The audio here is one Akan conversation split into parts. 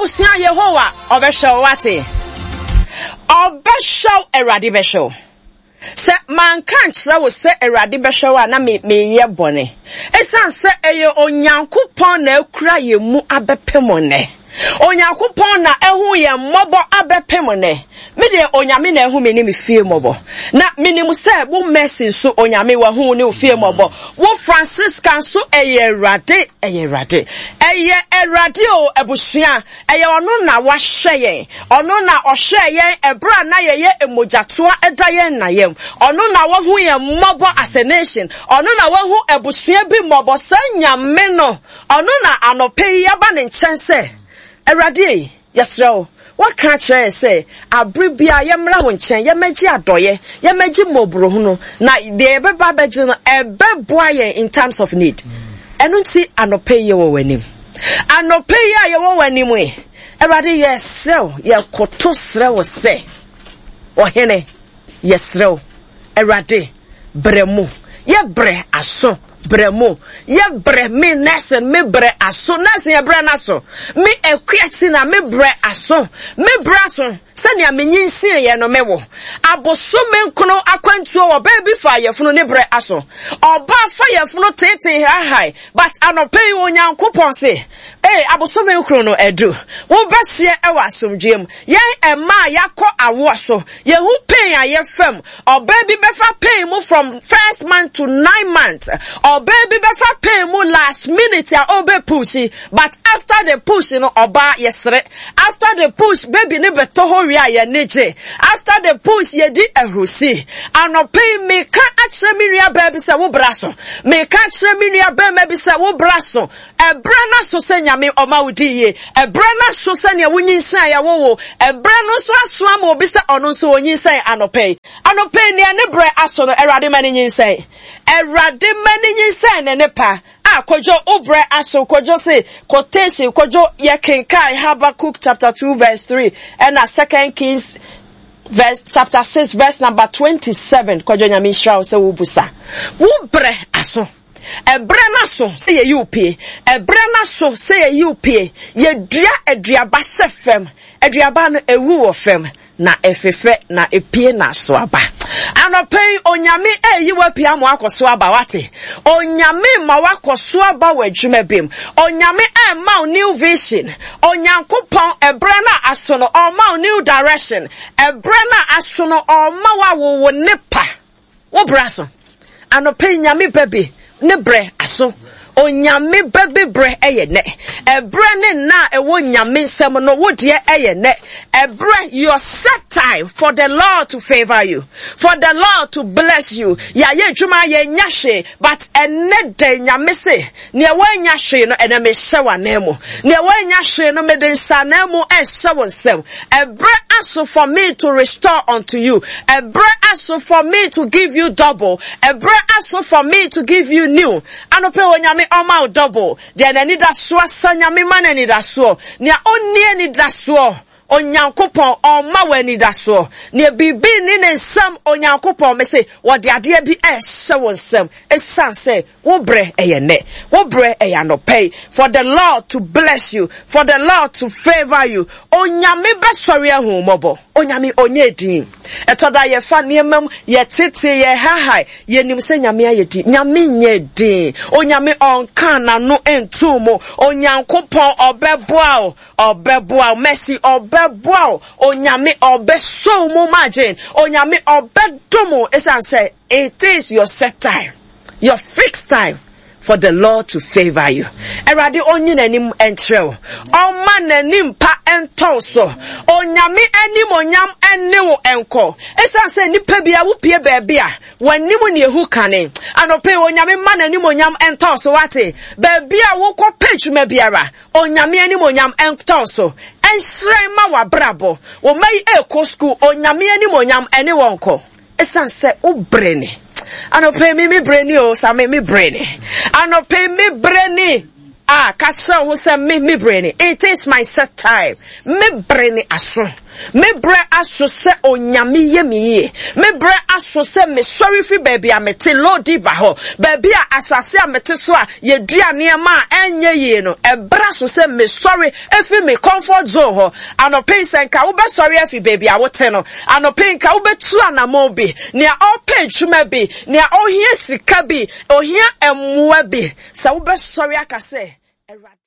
Abusua Yehowa ɔbɛhwɛ wo wate. Ɔbɛhwɛ wo, Awurade bɛhwɛ wo. Sɛ manka ankyerɛ wo sɛ Awurade bɛhwɛ wo a na me meyɛ bɔne. Esiane sɛ ɛyɛ Onyankopɔn na akura yɛn mu abɛpem nnɛ. Onyankopɔn na ahu yɛn mmɔbɔ abɛpem nnɛ. Me deɛ Onyame na ahu me ne me fie mmɔbɔ. Na menim sɛ wo Mercy nso Onyame wahu wo ne wo fie mmɔbɔ. Wo Francisca nso ɛyɛ Awurade, ɛyɛ Awurade. Ɛyɛ Awurade o abusua, ɛyɛ ɔno na wahwɛ yɛn. Ɔno na ɔhwɛɛ yɛn ɛberɛ a na yɛyɛ mmogyatoa da yɛn na yam. Ɔno na wahu yɛn mmɔbɔ as a nation. Ɔno na wahu abusua bi mmɔbɔ. Saa Nyame no, ɔno na anɔpa yi yɛaba ne nkyɛn sɛ, Awurade ei, Yɛsrɛ wo, woaka akyerɛ yɛn sɛ abere biara yɛmmra wo nkyɛn, yɛmmɛgye adɔeɛ, yɛmmɛgye mmɔborɔhunu, na deɛ yɛbɛba abɛgye no, ɛbɛboa yɛn in times of need. Ɛno nti, anɔpa yi yɛwɔ w'anim. Anɔpa yi a yɛwɔ w'anim yi, Awurade, yɛsrɛ wo, yɛkoto srɛ wo sɛ, Ɔhene, Yɛsrɛ wo, Awurade, brɛ mu. Yɛ brɛ aso, brɛ mu. Yɛ brɛ me nursing, me brɛ aso. Nursing yɛ brɛ n'aso. Me akua ti na me brɛ aso. Me brɛ aso sɛnea me nyinsiiɛ no me wo. Abosome nkono akwantuo wɔ baa bi fa yɛfunu ne brɛ aso. Ɔbaa fa yɛfunu teetee hahae. But anɔpa yi Onyankopɔn se, ee abosome nkron no adu. Wobɛhyeɛ ɛwɔ asomdwoeɛ mu. Yɛn mmaa a yɛakɔ awoɔ so, yɛhu pain a yɛfa mu. Ɔbaa bi bɛfa pain mu from first month to nine months. Ɔbaa bi bɛfa pain mu last minute a ɔbɛ push, but after the push no ɔbaa yɛsere. After the push baby no bɛtɔ hɔ wie a yɛn gye. After the push yɛdi ahurusi. Anɔpa yi meka akyerɛ me nua baa bi sɛ wo bra so. Meka akyerɛ me nua bɛrima bi sɛ wo bra so. Ɛberɛ no aso sɛ Nyame ɔma wo di yie. Ɛberɛ no aso sɛ nea wonyinsɛn a yɛwo wo. Ɛberɛ no nso aso ama obi sɛ ɔno nso ɔnyinsɛn anɔpa yi. Anɔpa yi nea ne berɛ aso no, Awurade ma no nyinsɛn. Awurade ma no nyinsɛn ne ne pa. Ah, Kojo, wo berɛ aso. Kojo se, quotation, Kojo, yɛkenkan Habakkuk chapter 2 verse 3 ɛna Second Kings verse chapter 6 verse number 27. Kojo, Nyame nhyira wo sɛ wobusa. Wo berɛ aso. Ɛberɛ no aso sɛ yɛyi wo pie. Ɛberɛ no aso sɛ yɛyi wo pie. Yɛdua aduaba hyɛ fam. Aduaba no ɛwu wɔ fam na ɛfefɛ na ɛpie na aso aba. Anɔpa yi, Onyame ɛreyi wo apue ama wakɔ so aba wate. Onyame ma wakɔ so aba wɔ adwuma bi mu. Onyame ɛrema wo new vision. Onyankopɔn ɛberɛ no a aso no ɔrema wo new direction. Ɛberɛ no a aso no ɔrema wo awo wo nepa. Wo brɛ aso. Anɔpa yi Nyame ba bi ne brɛ aso. Onyame ba bi brɛ ɛyɛ nɛ. Ɛbrɛ ne nna a ɛwɔ Nyame nsam no wo deɛ ɛyɛ nɛ. Ɛbrɛ your set time for the Lord to favor you. For the Lord to bless you. Yɛayɛ adwuma yɛnya hwee but ɛnɛ dɛn Nyame se Nea wannya hwee no, ɛnɛ mehyɛ w'ananmu. Nea wannya hwee no, mede nhyɛ ananmu ɛhyɛ wo nsam. Ɛberɛ aso for me to restore unto you. Ɛberɛ aso for me to give you double. Ɛberɛ aso for me to give you new. Anɔpɛ Onyame ɔma wo double. Deɛ n'anidasoɔ asa Nyame ma n'anidasoɔ. Nea ɔnni anidasoɔ Onyankopɔn ɔma wo anidasoɔ. Nea biribi nni ne nsam Onyankopɔn mese wɔde adeɛ bi ɛrehyɛ wo nsam. Ɛsiane sɛ Wo brɛ ɛyɛ nnɛ. Wo brɛ ɛyɛ anɔpa yi. For the Lord to bless you. For the Lord to favour you. Onyame bɛsɔre ahu wo mmɔbɔ. Onyame ɔnyɛ din. Ɛtɔ da yɛfa nneɛma mu, yɛtete, yɛhahae. Yɛnim sɛ Nyame ayɛ din. Nyame nyɛ din. Onyame ɔnka n'ano nto mu. Onyankopɔn ɔbɛboa wo. Ɔbɛboa wo. Mercy ɔbɛboa wo. Onyame ɔbɛsɔ wo mu margin. Onyame ɔbɛdom wo. Ɛsiane sɛ it is your set time. Your fixed time for the Lord to favor you. Awurade onyi n'anim nkyerɛ wo. Ɔma n'anim pa ntɔ so. Onyame anim onyam ne wo nkɔ. Esiane sɛ nipa bi a wopie baabi a w'anim ne ehu kane. Anɔpɛ yi Onyame ma n'anim onyam ntɔ so wate. Baabi a wokɔ pɛ adwuma biara Onyame anim onyam ntɔ so. Ɛnhyerɛn ma w'abrabɔ. Wo mma yi ɛrekɔ sukuu Onyame anim onyam ɛne wɔn kɔ. Ɛsiane sɛ wo brɛ ni. Anɔpa yi me me brɛ ni o, sa me me brɛ ni. Anɔpa yi me brɛ ni. Ah, ka kyerɛ wo ho sɛ me me brɛ ni. It is my set time. Me brɛ ni aso. Me berɛ aso sɛ Onyame yɛ me yie. Me berɛ aso sɛ mesɔre firi baabi a mete, Lo-debar hɔ, baabi a asase a mete so a yɛdua nneɛma a ɛnyɛ yie no. Ɛberɛ aso sɛ mesɔre firi me comfort zone hɔ. Anɔpa yi, sɛ nka wobɛsɔre afi baabi a wote no, anɔpa yi nka wobɛtu anammɔn bi. Nea ɔrepɛ adwuma bi, nea ɔhia sika bi, ɔhia mmoa bi, sɛ wobɛsɔre aka sɛ, Awurade.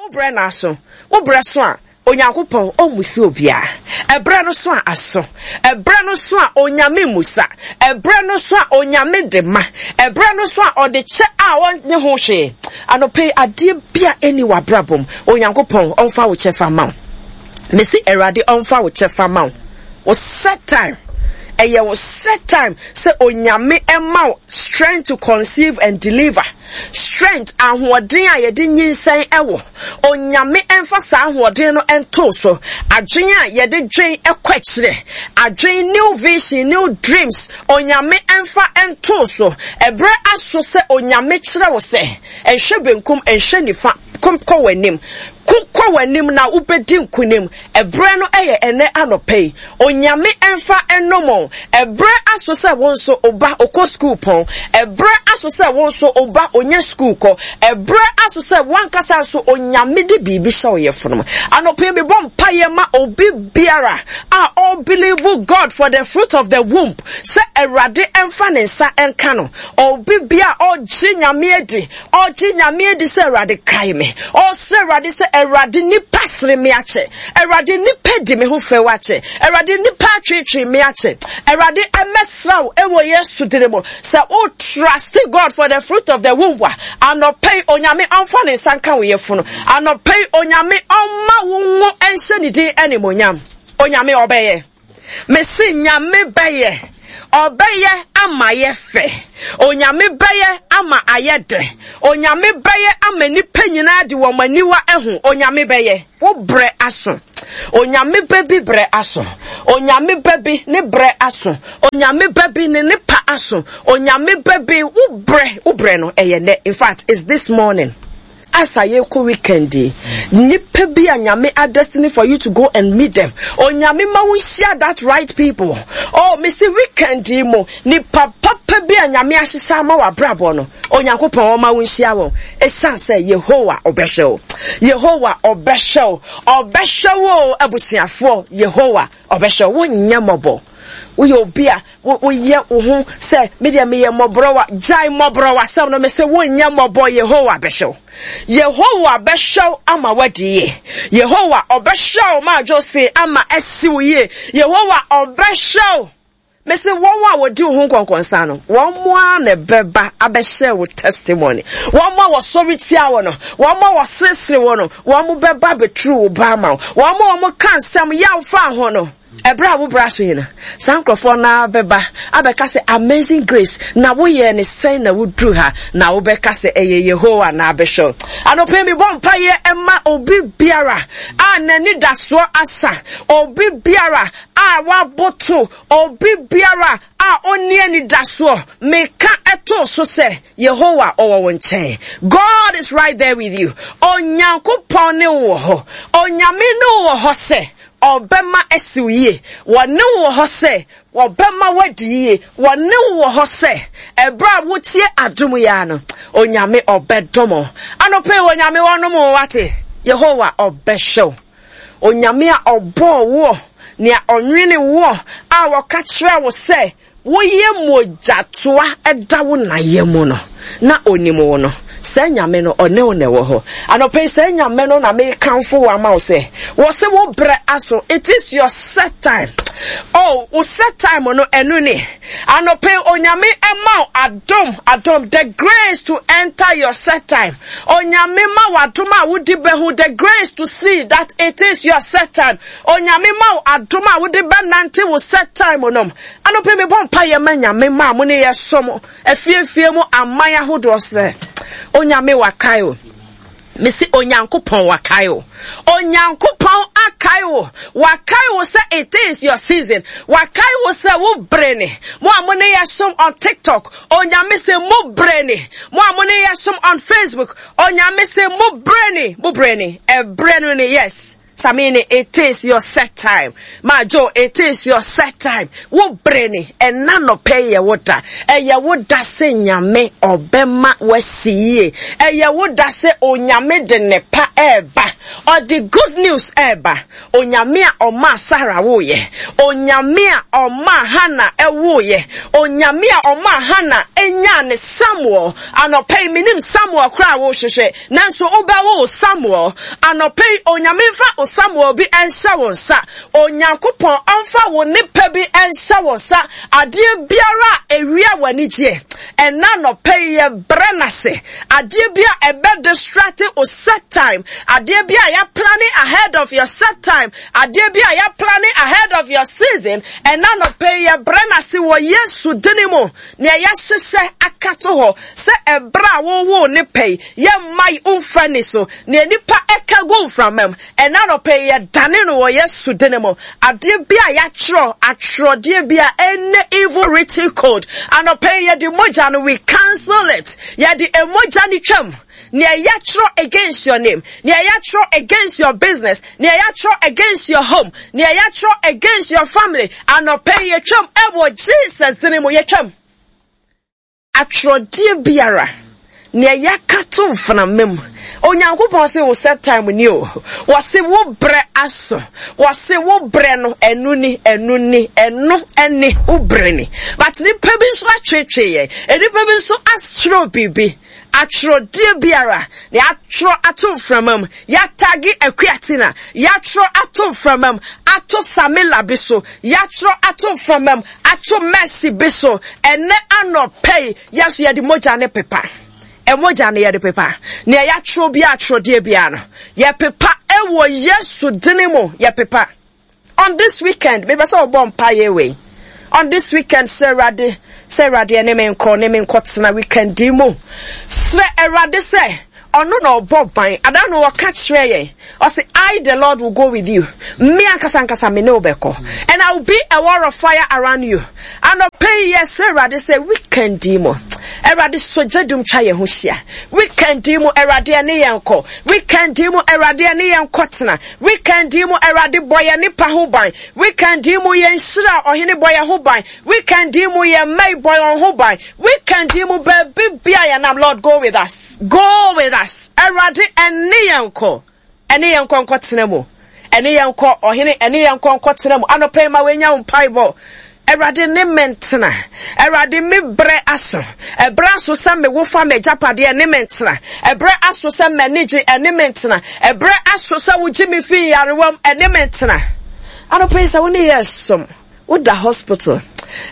Wo berɛ no aso. Wo berɛ so a, Onyankopɔn ɔmmusa obiara. Ɛberɛ no so a, aso. Ɛberɛ no so a, Onyame mmusa. Ɛberɛ no so a, Onyame de ma. Ɛberɛ no so a, ɔde kyɛ a ɔnnye ho hwee. Anɔpa yi, adeɛ bi a ɛnni w'abrabɔ mu, Onyankopɔn ɔmfa wo kyɛfa mma wo. Mese Awurade ɔmfa wo kyɛfa mma wo. Wo set time. Ɛyɛ wo set time sɛ Onyame ɛma wo strength to conceive and deliver. Strength, ahoɔden a yɛde nyinsɛn wɔ. Onyame mfa saa ahoɔden no nto so. Adwen a yɛde dwen kɔ akyire. Adwen, new vision, new dreams. Onyame mfa nto so. Ɛberɛ aso sɛ Onyame kyerɛ wo sɛ, nhwɛ benkum, nhwɛ nifa, ko kɔ w'anim. Ko kɔ w'anim na wobɛdi nkonim. Ɛberɛ no yɛ ɛnnɛ anɔpa yi. Onyame mfa nnom wo. Ɛberɛ aso sɛ wo nso wo ba ɔkɔ sukuu pɔn. Ɛberɛ aso sɛ wo nso wo ba ɔnya sukuu kɔ. Ɛberɛ aso sɛ w'ankasa nso Onyame de biribi hyɛ wo yafunu mu. Anɔpa yi mebɔ mpaeɛ ma obi biara a ɔbelieve God for the fruit of the womb sɛ Awurade mfa ne nsa nka no. Obi biara a ɔgye Nyame adi Ɔgye Nyame adi sɛ Awurade kae me. Ɔsrɛ Awurade sɛ Awurade nipa sere me akyɛ. Awurade nipa di me ho fɛw akyɛ. Awurade nipa atweetwee me akyɛ. Awurade ɛmɛsra wo ɛwɔ Yesu dini mu. Sɛ wo trust God for the fruit of the womb a, anɔpa yi Onyame ɔmfa ne nsa nka wo yafunu. Anɔpa yi Onyame ɔmma wo ngo nhyɛ ne din animonyam. Onyame ɔbɛyɛ. Mese Nyame bɛyɛ, ɔbɛyɛ ama ayɛ fɛ. Onyame bɛyɛ ama ayɛ dɛ. Onyame bɛyɛ ama nnipa nyinaa de wɔn aniwa ahu. Onyame bɛyɛ. Wo brɛ aso. Onyame bɛ bi brɛ aso. Onyame bɛ bi ne brɛ aso. Onyame bɛ bi ne ne pa aso. Onyame bɛ bi wo brɛ, wo brɛ no ɛyɛ nɛ. In fact, it's this morning. As a yɛkɔ weekend yi, nipa bi a Nyame a destiny for you to go and meet them. Onyame ma wo nhyia that right people. Oh, me se weekend yi mu, nipa papa bi a Nyame ahyehyɛ ama w'abrabɔ no, Onyankopɔn ɔma wo nhyia wɔn. Esan sɛ Yehowa ɔbɛhwɛ wo. Yehowa ɔbɛhwɛ wo. Ɔbɛhwɛ wo abusuafoɔ. Yehowa ɔbɛhwɛ wo. Wonyɛ mmɔbɔ. Woyɛ obi a woyɛ wo ho sɛ me deɛ meyɛ mmɔborɔwa. Gyae mmɔborɔwasɛm no. Mese wonyɛ mmɔbɔ. Yehowa bɛhwɛ wo. Yehowa bɛhwɛ wo ama woadi yie. Yehowa ɔbɛhwɛ wo ma Josephine ama asi wo yie. Yehowa ɔbɛhwɛ wo. Mese wɔn a wɔdi wo ho nkɔnkɔnsa no, wɔn ara na ɛbɛba abɛhyɛ wo testimony. Wɔn a wɔsɔre tia wo no, wɔn a wɔseresere wo no, wɔn bɛba abɛturu wo ba ama wo. Wɔn a wɔka nsɛm yaw fa ho no, Ɛberɛ a wo bra so yi no, saa nkurɔfoɔ no ara bɛba abɛka sɛ, Amazing Grace, na woyɛɛ no sɛn na woduru ha? Na wobɛka sɛ, Ɛyɛ Yehowa na abɛhwɛ wo. Anɔpa yi mebɔ mpaeɛ ma obi biara a n'anidasoɔ asa, obi biara a waboto, obi biara a ɔnni anidasoɔ. Meka ɛtoo so sɛ, Yehowa ɔwɔ wo nkyɛn. God is right there with you. Onyankopɔn ne wo wɔ hɔ. Onyame ne wo wɔ hɔ sɛ Ɔbɛma asi wo yie. Wɔne wo wɔ hɔ sɛ wɔbɛma woadi yie. Wɔne wo wɔ hɔ sɛ ɛberɛ a wotie adom yi ara no, Onyame ɔbɛdom wo. Anɔpa yi Onyame ɔnom wo wate. Yehowa ɔbɛhwɛ wo. Onyame a ɔbɔɔ woɔ, nea ɔnwene woɔ, a ɔka kyerɛɛ wo sɛ Woyɛ mogyatoa da wo na yam no, na onim wo no, saa Nyame no, ɔne wo na ɛwɔ hɔ. Anɔpa yi, saa Nyame no na mekamfo wo ama wo sɛ, wɔ se wo berɛ aso, it is your set time. Oh, wo set time no, ɛno ni. Anɔpa yi, Onyame ɛma wo adom, adom, the grace to enter your set time. Onyame ma wo adom a wodi bɛhu, the grace to see that it is your set time. Onyame ma wo adom a wode bɛnante wo set time no. Anɔpa yi mebɔ mpaeɛ ma Nyame ma mo ne yɛsom afiefie mu aman ahodoɔ sɛ Onyame wakae o. Mese Onyankopɔn wakae o. Onyankopɔn akae wo. Wakae wo sɛ it is your season. Wakae wo sɛ wo bere ne. Mo a mo ne yɛsom on TikTok, Onyame sɛ mo bere ne. Mo a mo ne yɛsom on Facebook, Onyame sɛ mo bere ne. Mo bere ne. Ɛbrɛ no ne yes. Samini, it is your set time. Ma Joe, it is your set time. Wo bere ni, ɛna nɔpɛ yɛ wo da. Ɛyɛ wo da sɛ Nyame ɔbɛma wasi yie. Ɛyɛ wo da sɛ Onyame de ne pa ɛɛba. Ɔde good news ɛɛba. Onyame a ɔmaa Sarah woeɛ. Onyame a ɔmaa Hannah ɛwoeɛ. Onyame a ɔmaa Hannah ɛnyaa ne Samuel. Anɔpa yi menim Samuel koraa a wohwehwɛ, nanso wobɛwo wo Samuel. Anɔpa yi Onyame mfa wo Samuel bi nhyɛ wo nsa. Onyankopɔn ɔmfa wo nipa bi nhyɛ wo nsa. Adeɛ biara a ɛwia w'anigyeɛ, ɛna anɔpa yi yɛbrɛ no ase. Adeɛ bi a ɛbɛ distract wo set time. Adeɛ bi a yɛaplane ahead of your set time. Adeɛ bi a yɛaplane ahead of your season. Ɛna anɔpa yi yɛbrɛ no ase wɔ Yesu dini mu. Nea yɛahyehyɛ aka to hɔ sɛ ɛberɛ a wowoo ne pɛ yi, yɛmma yi mfa ni so. Nea nnipa ɛka gu mframa mu, ɛna anɔpa yi yɛdane no wɔ Yesu dini mu. Adeɛ bi a yɛatwerɛ, atwerɛdeɛ bi a ɛne evil written code, anɔpa yi yɛde mogya no, we cancel it. Yɛde mogya no twam. Nea yɛatwerɛ against your name, nea yɛatwerɛ against your business, nea yɛatwerɛ against your home, nea yɛatwerɛ against your family, anɔpa yi yɛtwam ɛwɔ Jesus dini mu, yɛtwam. Atwerɛdeɛ biara, nea yɛaka to mframa mu, Onyankopɔn se wo set time ni o. Wɔse wo brɛ aso. Wɔse wo brɛ no, ɛno ni, ɛno ni, ɛno ɛne wo brɛ ni. But nipa bi nso atwetwe yɛn. Nipa bi nso atwerɛ biribi. Atwerɛdeɛ biara, na yɛatwerɛ ato mframa mu, yɛatage Akuatina, yɛatwerɛ ato mframa mu, ato Samila bi so, yɛatwerɛ ato mframa mu, ato Mercy bi so. Ɛnɛ anɔpa yi, yɛn nso yɛde mogya ne pepa. Mogya no yɛde pepa. Nea yɛatwerɛ biara, atwerɛdeɛ biara no, yɛpepa ɛwɔ Yesu dini mu, yɛpepa. On this weekend, mepɛ sɛ wɔbɔ mpaeɛ wei. On this weekend, srɛ Awurade sɛ Awurade ɛne me nkɔ, ne me nkɔtena weekend yi mu. Srɛ Awurade sɛ ɔno na ɔbɔ ban. Ada no ɔka kyerɛ yɛn. Ɔse, I the Lord will go with you. Me ankasa ankasa me ne wo bɛkɔ. And I will be a wall of fire around you. Anɔpa yi yɛsrɛ Awurade sɛ weekend yi mu, Awurade sɔ gya dum twa yɛn ho hyia. Weekend yi mu, Awurade ɛne yɛn kɔ. Weekend yi mu, Awurade ɛne yɛn kɔ tena. Weekend yi mu, Awurade bɔ yɛn nipa ho ban. Weekend yi mu, yɛn nhyira ɔhene bɔ yɛn ho ban. Weekend yi mu, yɛn mma yi bɔ yɛn ho ban. Weekend yi mu, baabi bia yɛn nam, Lord go with us. Go with us. Awurade ɛne yɛn kɔ. Ɛne yɛn nkɔ nkɔtena mu. Ɛne yɛn nkɔ, ɔhene, ɛne yɛn nkɔ nkɔtena mu. Anɔpa yi ma wɔanya wo mpaebɔ. Awurade ne me ntena. Awurade me brɛ aso. Ɛbrɛ aso sɛ me wo fa m'agyapadeɛ ɛne me ntena. Ɛbrɛ aso sɛ m'ani gye ɛne me ntena. Ɛbrɛ aso sɛ wogye me fi nyarewa mu ɛne me ntena. Anɔpa yi sɛ wo ne yɛ som. Woda hospital.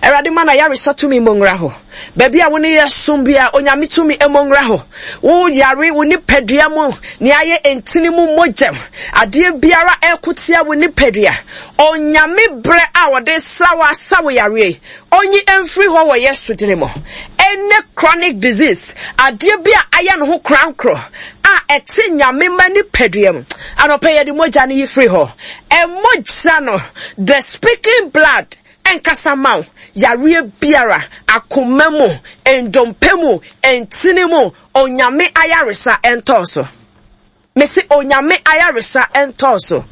Awurade ma n'ayaresa tumi mmɔ nwura hɔ. Baabi a wo ne yɛ som bia, Onyame tumi mmɔ nwura hɔ. Wo yare wo nipadua mu, nea ayɛ ntini mu mogyam, adeɛ biara ɛko tia wo nipadua. Onyame berɛ a ɔde sra wo asa wo yareɛ yi, ɔnyi mfiri hɔ wɔ Yesu dini mu. Any chronic disease, adeɛ bi a ayɛ ne ho korankorɔ a ɛte Nyame ma nipadua mu, anɔpa yɛde mogya no yi firi hɔ. Mogya no, the speaking blood, ɛnkasa ma wo. Yareɛ biara, akoma mu, ndompe mu, ntini mu, Onyame ayaresa ɛntɔɔ so. Mese Onyame ayaresa ɛntɔɔ so.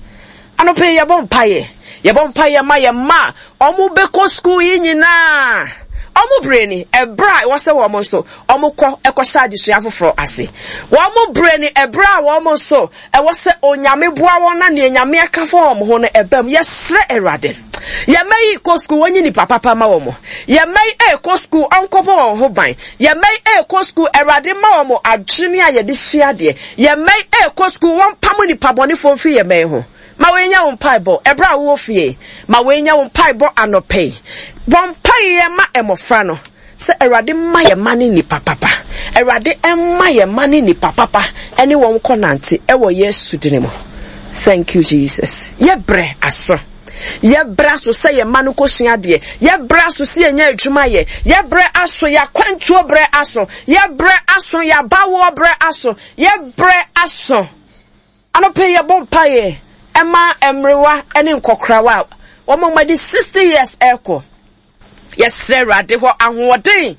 Anɔpa yi yɛbɔ mpaeɛ. Yɛbɔ mpaeɛ ma yɛn mma a wɔn bɛkɔ sukuu yi nyinaa. Wɔn berɛ ni, ɛberɛ a ɛwɔ sɛ wɔn nso wɔn kɔ ɛkɔhyɛ adesua foforɔ ase. Wɔn berɛ ni, ɛberɛ a wɔn nso Ɛwɔ sɛ Onyame boa wɔn na nea Nyame aka fa wɔn ho no ɛba mu. Yɛsrɛ Awurade. Yɛn mma yi kɔ sukuu, wɔnyi nipa papa ma wɔn. Yɛn mma yi ɛrekɔ sukuu, ɔnkɔbɔ wɔn ho ban. Yɛn mma yi ɛrekɔ sukuu, Awurade ma wɔn adwene a yɛde sua adeɛ. Yɛn mma yi ɛrekɔ sukuu, wɔmpamo nipa bɔnefoɔ mfiri yɛn mma yi ho. Ma wɔanya wo mpaebɔ ɛberɛ a wowɔ fie. Ma wɔanya wo mpaebɔ anɔpa yi. Bɔ mpaeɛ ma mmɔfra no. Sɛ Awurade mma yɛn mma ne nnipa papa. Awurade mma yɛn mma ne nnipa papa ɛne wɔn kɔ nante ɛwɔ Yesu dini mu. Thank you Jesus. Yɛ brɛ aso. Yɛ brɛ aso sɛ yɛn mma no kɔ sua adeɛ. Yɛ brɛ aso sɛ yɛnya adwuma yɛ. Yɛ brɛ aso yɛ akwantuo brɛ aso. Yɛ brɛ aso yɛ abawoɔ brɛ aso. Yɛ brɛ aso. Anɔpa yi yɛbɔ mpaeɛ ɛma mmerewa ne nkɔkorawa a wɔn a wɔadi 60 years ɛrekɔ. Yɛsrɛ Awurade hɔ ahoɔden.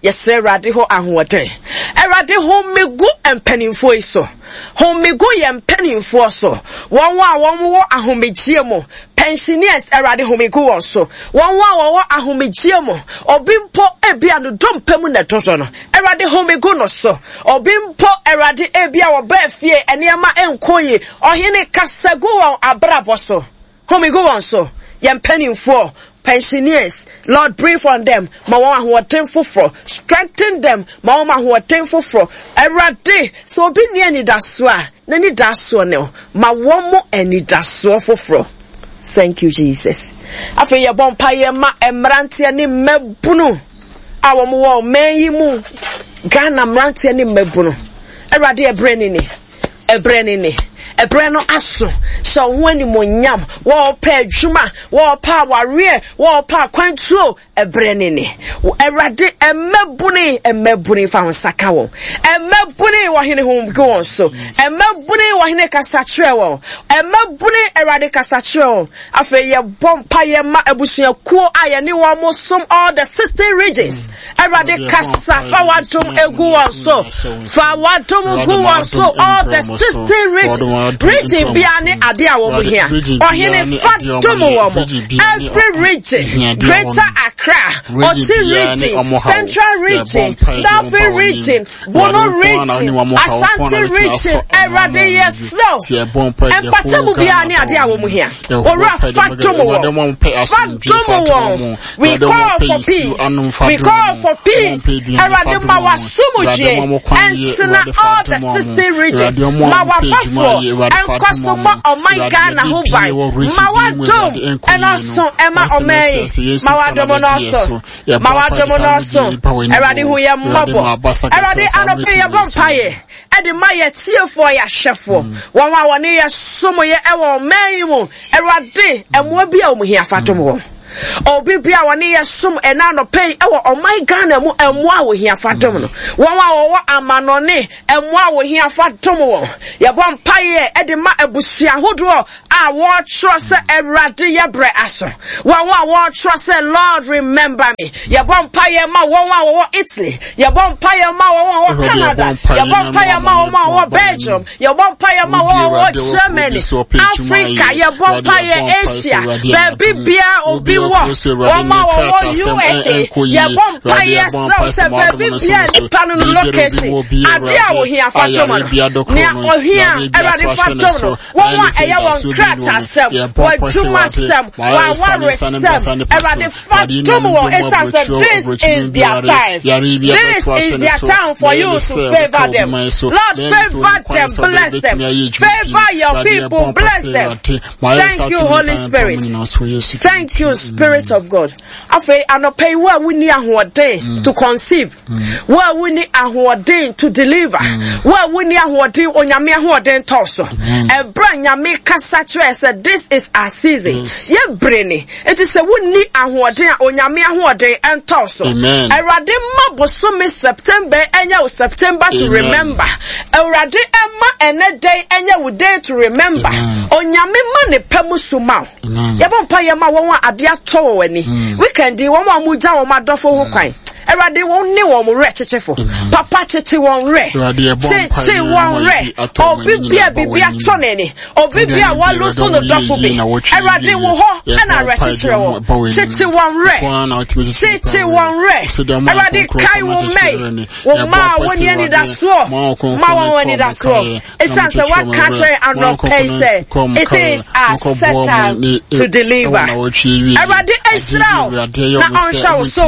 Yɛsrɛ Awurade hɔ ahoɔden. Awurade home gu mpanimfoɔ yi so. Home gu yɛn mpanimfoɔ so. Wɔn a wɔn wɔ ahomegyeɛ mu, pensioners, Awurade home gu wɔn so. Wɔn a wɔwɔ ahomegyeɛ mu, obi mpo ebia no dompe mu na ɛdodɔ no, Awurade home gu no so. Obi mpo, Awurade, ebia wɔbaa fie, nneɛma nkɔ yie. Ɔhene, kasa gu wɔn abrabɔ so. Home gu wɔn so. Yɛn mpanimfoɔ, pensioners, Lord breathe on them, ma wɔn ahoɔden foforɔ. Strengthen them, ma wɔn ahoɔden foforɔ. Awurade, sɛ obi nni anidasoɔ a, n'anidasoɔ ne wo. Ma wɔn mo anidasoɔ foforɔ. Thank you, Jesus. Afei yɛbɔ mpaeɛ ma mmeranteɛ ne mmabunu a wɔn wɔ ɔman yi mu. Ghana mmeranteɛ ne mmabunu. Awurade ɛberɛ ne ni. Ɛberɛ ne ni. Ɛberɛ no aso. Hyɛ wo ho animuonyam. Wɔɔpɛ adwuma, wɔɔpɛ awareɛ, wɔɔpɛ akwantuo. Ɛberɛ ne ni. Awurade, mmabunu, mmabunu fa wo nsa ka wɔn. Mmabunu wɔ hene ho gu wɔn so. Mmabunu wɔ hene kasa kyerɛ wɔn. Mmabunu, Awurade kasa kyerɛ wɔn. Afei yɛbɔ mpaeɛ ma abusuakuo a yɛne wɔn som all the 16 regions. Awurade kasa fa w'adom egu wɔn so. Fa w'adom gu wɔn so all the 16 regions. Region biara ne ade a wɔn hia. Ɔhene fa dom wɔn. Every region, Greater Accra, Oti region, Central region, Northern region, Bono region, Ashanti region, Awurade yɛsrɛ wo. Mpatamu biara ne ade a wɔn hia. Owura fa dom wɔn. Fa dom wɔn. We call for peace. We call for peace. Awurade ma w'asomdwie ɛntena all the 16 regions. Ma w'abɔfoɔ ɛnkɔ so mmɔ ɔman Ghana ho ban. Ma w'adom ɛnɔso ɛma ɔman yi. Ma w'adom nɔso. Ma w'adom nɔso. Awurade hu yɛn mmɔbɔ. Awurade anɔpɛ yɛbɔ mpaeɛ ɛde ma yɛ tiefoɔ yɛ ahwɛfoɔ. Wɔn a wɔne yɛ som yɛ ɛwɔ ɔman yi mu. Awurade ɛmoa bi a wɔn hia fa dom wɔn. Obi bi a wɔne yɛ som ɛna anɔpɛ yi ɛwɔ ɔman Ghana mu ɛmoa a wɔhia fa dom no. Wɔn a wɔwɔ amanɔne ɛmoa a wɔhia fa dom wɔn. Yɛbɔ mpaeɛ ɛde ma abusua ahodoɔ a wɔretwerɛ sɛ Awurade yɛ brɛ aso. Wɔn a wɔretwerɛ sɛ Lord remember me. Yɛbɔ mpaeɛ ma wɔn a wɔwɔ Italy. Yɛbɔ mpaeɛ ma wɔn a wɔwɔ Canada. Yɛbɔ mpaeɛ ma wɔn a wɔwɔ Belgium. Yɛbɔ mpaeɛ ma wɔn a wɔwɔ Germany, Africa. Yɛbɔ mpaeɛ Asia, baabi biara obi wɔ. Wɔn a wɔwɔ USA. Yɛbɔ mpaeɛ srɛ sɛ baabi biara nipa no no location. Adeɛ a ohia fa dom no. Nea ohia Awurade fa dom no. Wɔn a ɛyɛ wɔn krataasɛm, wɔn adwumasɛm, wɔn awaresɛm, Awurade fa dom wɔn ɛsiane sɛ this is their time. This is their time for you to favor them. Lord, favor them, bless them. Favor your people, bless them. Thank you, Holy Spirit. Thank you, Spirit of God. Afei anɔpa yi wo a wonni ahoɔden mm. to conceive, mm. wo a wonni ahoɔden to deliver, mm. wo a wonni ahoɔden onyame ahoɔden tɔ so. Ɛberɛ nyame kasa kyerɛ sɛ this is our season. Yɛ bere ni. Eti sɛ wonni ahoɔden a onyame ahoɔden ɛntɔ so. Awurade ma bosome September ɛnyɛ wo September to remember. Awurade ɛma ɛnɛ day ɛnyɛ wo day to remember. Onyame ma ne pɛ mu so ma wo. Yɛbɔ mpa yɛ ma wɔn a adeɛ atɔ wɔn ani. Mm. Weekend yi wɔn a wɔgya wɔn adɔfo ho mm. kwan. Awurade wɔn ne wɔn werɛ kyekyefo. Papa kyekye wɔn werɛ. Kyekye wɔn werɛ. Obi bi a biribi atɔ n'ani. Obi bi a wɔlusu no dɔfo bi. Awurade wo hɔ ɛna awerɛkyekyerɛ wɔ. Kyekye wɔn werɛ. Kyekye wɔn werɛ. Awurade kae wo mmɛn. Wo mma a wɔnni anidasoɔ. Ma wɔn anidasoɔ. Esiane sɛ woaka akyerɛ yɛn anɔpa yi sɛ it is our set time to deliver. Awurade nhyira wo na ɔnhyɛ wo so.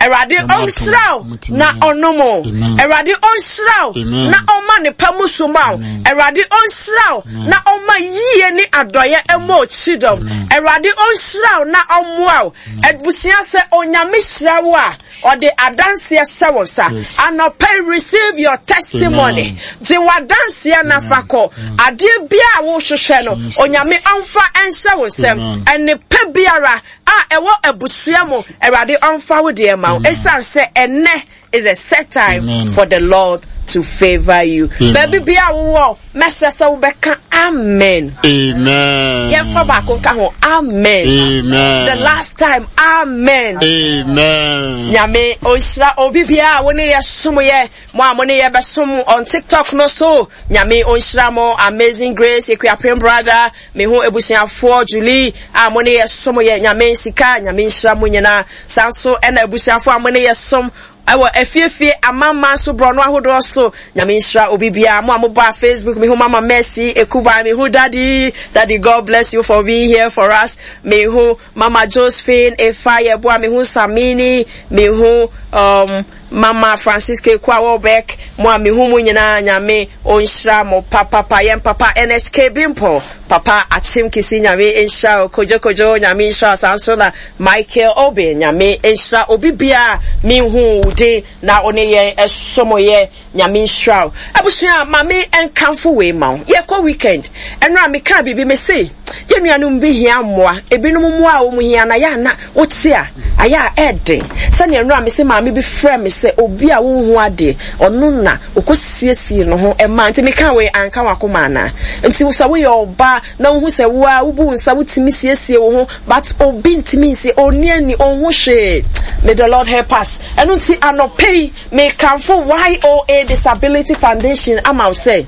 Awurade ɔnhyira wo na ɔnom wo. Awurade ɔnhyira wo na ɔma ne pa mu so ma wo. Awurade ɔnhyira wo na ɔma yie ne adɔeɛ mmɔ wo kyidɔm. Awurade ɔnhyira wo na ɔmmoa wo. Abusua sɛ Onyame hyira wo a, Ɔde adanseɛ hyɛ wo nsa. Anɔpa yi receive your testimony. Gye w'adanseɛ na fa kɔ. Adeɛ biara a wohwehwɛ no, Onyame ɔmfa nhyɛ wo nsam. Nnepa biara a ɛwɔ abusua mu, Awurade ɔmfa wo deɛ ma wo. Ɛsiane sɛ ɛnnɛ is a set time for the Lord. to favor you. Baabi biara wowɔ, mɛsrɛ sɛ wobɛka amen. Amen. Yɛmfa baako nka ho amen. Amen. The last time amen. Amen. Nyame ɔnhyira obi biara a wo ne yɛ som yɛ mo a mo ne yɛ bɛsom on TikTok no so. Nyame ɔnhyira mo Amazing Grace Ekuapem brother me ho abusuafoɔ Julie a mo ne yɛ som yɛ Nyame sika Nyame nhyira mo nyinaa. Saa nso ɛna abusuafoɔ a mo ne yɛ som Ɛwɔ afiefie, amamman so, borɔno ahodoɔ so. Nyame nhyira obi biara. Mo a mo baa Facebook, me hu Mama Mercy Ekuban, me hu Daddy, Daddy God bless you for being here for us. Me hu Mama Josephine Efa Yeboah, me hu Samini, me hu um, Mama Francisca Ekua Wobek, mo a me hu mo nyinaa, Nyame onhyira mo papapa. Yɛn papa NSK Bimpo, Papa Akyem Kisi Nyame nhyira wo, Kojo Kojo Nyame nhyira wo, saa nso na Michael Obeng Nyame nhyira obi biara me hu wo din na wo ne yɛn ɛsom yɛ Nyame nhyira wo. Abusua ma me nkamfo wei ma wo, yɛkɔ weekend, ɛnora me kaa biribi me se yɛn nuanom bi hia mmoa, ebinom mmoa a wɔn hia na yɛ ana wote a ayɛ a ɛɛden, sɛnea ɛnora me se maame bi frɛ me sɛ obi a wonhu adeɛ ɔno na Ɔkɔsiesiee ne ho maa nti meka wei anka w'akoma anaa? Nti sɛ woyɛ ɔbaa na wohu sɛ wo ara wobu wo nsa wotumi siesie wo ho but obi ntumi nsie ɔnni ani ɔnhu hwee may the Lord help us. Ɛno nti anɔpa yi mekamfo YOA Disability Foundation ama wo sɛ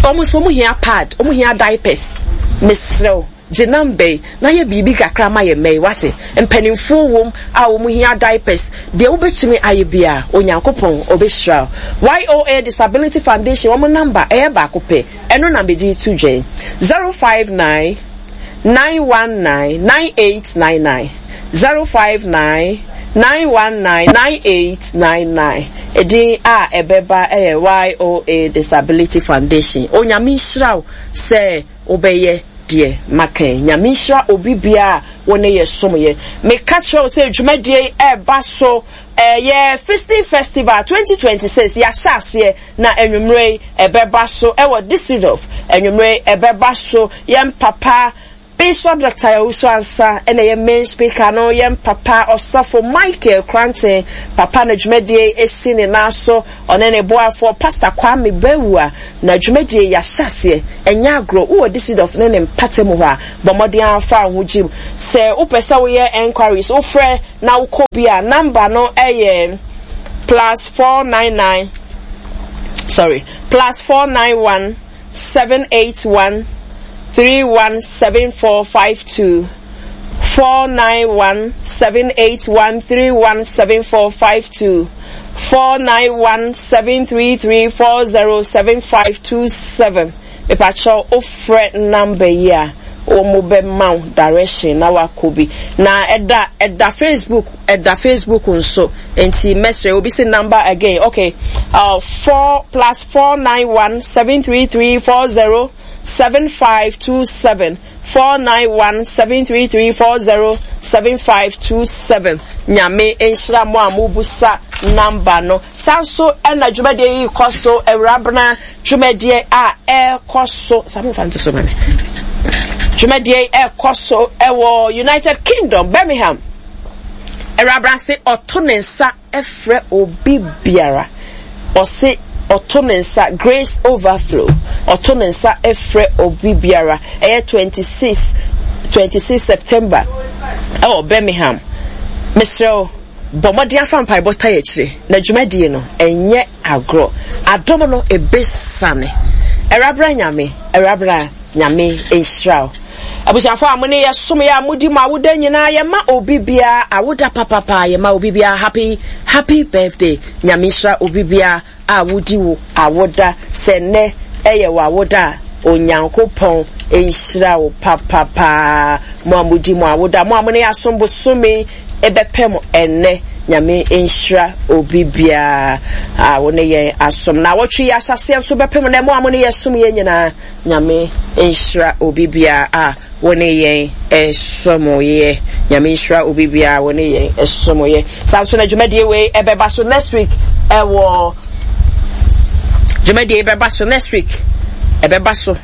wɔn nso wɔn hia pad wɔn hia diapers mesrɛ wo. Gye number yi na yɛ biribi kakra ma yɛn mma yi, wate? Mpanimfoɔ wom a wɔn hia diapers, deɛ wobɛtumi ayɛ biara, Onyankopɔn ɔbɛhyira wo. YOA Disability Foundation wɔn number ɛyɛ baako pɛ, ɛno na mede reto dwa yi, 059 919 9899, 059 919 9899. Edin a ɛbɛba yɛ YOA Disability Foundation. Onyame nhyira wo sɛ Wobɛyɛ deɛ maka yi. Nyame nhyira obi biara a wo ne yɛ som yɛ. Meka kyerɛ wo sɛ dwumadie yi ɛreba so ɛyɛ Feasting Festival 2026 yɛahyɛ aseɛ na anwummerɛ yi ɛbɛba so ɛwɔ Düsseldorf anwummerɛ yi ɛbɛba so yɛn papa Bishop Doctor Owusu Ansah ɛna ɛyɛ main speaker no yɛn papa Ɔsɔfo Michael Kranten papa na dwumadie yi ɛsi ne nan so Ɔne ne boafoɔ Pastor Kwame Bawuah na dwumadie yi yɛahyɛ aseɛ. Ɛnyɛ agorɔ, wowɔ Düsseldorf ne ne mpatamu hɔ a, bɔ mmɔden ara fa wo ho gyim. Sɛ wopɛ sɛ woyɛ enquiries, wofrɛ na wokɔ bi a, number no yɛ +499, sorry, +491 781 317452, 491 781 317452. 491 733 407527 mepakyɛw wo frɛ number yi a wɔn bɛ ma wo direction na wakɔ bi na ɛda ɛda Facebook ɛda Facebook nso nti mɛsrɛ obi si number again okay uh, 4 plus 491 733 407527 491 733 407527 Nyame nhyira mo a mobusa number no. Saa nso na dwumadie yi rekɔ so, Awurabena dwumadie a ɛrekɔ so, saa momfa nto so ma me. Dwumadie yi ɛrekɔ so ɛwɔ United Kingdom, Birmingham. Awurabena se ɔto ne nsa frɛ obi biara. Ɔse ɔto ne nsa, Grace Overflow, ɔto ne nsa frɛ obi biara. Ɛyɛ 26, 26 September ɛwɔ Birmingham. Mesrɛ wo, bɔ mmɔden afa mpaebɔ tae akyire na dwumadie no ɛnyɛ agorɔ. Adom no ɛbɛsiane. Awurabra Nyame, Awurabra. Nyame nhyira wo. Abusuafo a mo ne yɛ som yɛ a modi mo awoda nyinaa yɛ ma obi biara awoda papapa yɛ ma obi biara happy happy birthday Nyame nhyira obi biara a wodi wo awoda sɛ nnɛ ɛyɛ wo awoda a Onyankopɔn nhyira wo papapaa mo a modi mo awoda mo a mo ne yɛ asom bosome ɛbɛpɛ mo ɛnnɛ Nyame nhyira obi biara a wo ne yɛn asom na awɔtwe yi ahyɛseɛ nso bɛpem nnɛ mo a mo ne yɛ som yɛ nyinaa Nyame nhyira obi biara a wo ne yɛn som yɛ. Nyame nhyira obi biara a wo ne yɛn som yɛ. Saa nso na dwumadie wei ɛbɛba so next week ɛwɔ dwumadie bɛba so next week ɛbɛba so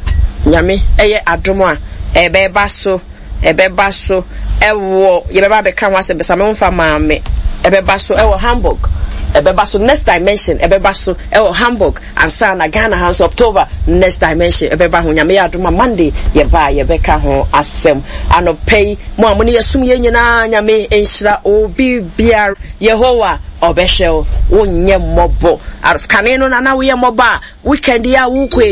Nyame ɛyɛ adom a ɛbɛba so. Ɛbɛba so wɔ, yɛbɛba abɛka ho asɛm, bɛsa me mfa maa me. Ɛbɛba so wɔ Hamburg. Ɛbɛba so Next Dimension ɛbɛba so ɛwɔ Hamburg ansa na Ghana ha nso October Next Dimension ɛbɛba ho. Nyame yɛ adom a Monday yɛba a yɛbɛka ho asɛm. Anɔpa yi mo a mo ne yɛsom yɛn nyinaa Nyame nhyira obi biara. Yehowa ɔbɛhwɛ wo, wonyɛ mmɔbɔ. Kane no na na woyɛ mmɔbɔ a weekend yi a wokɔ yi.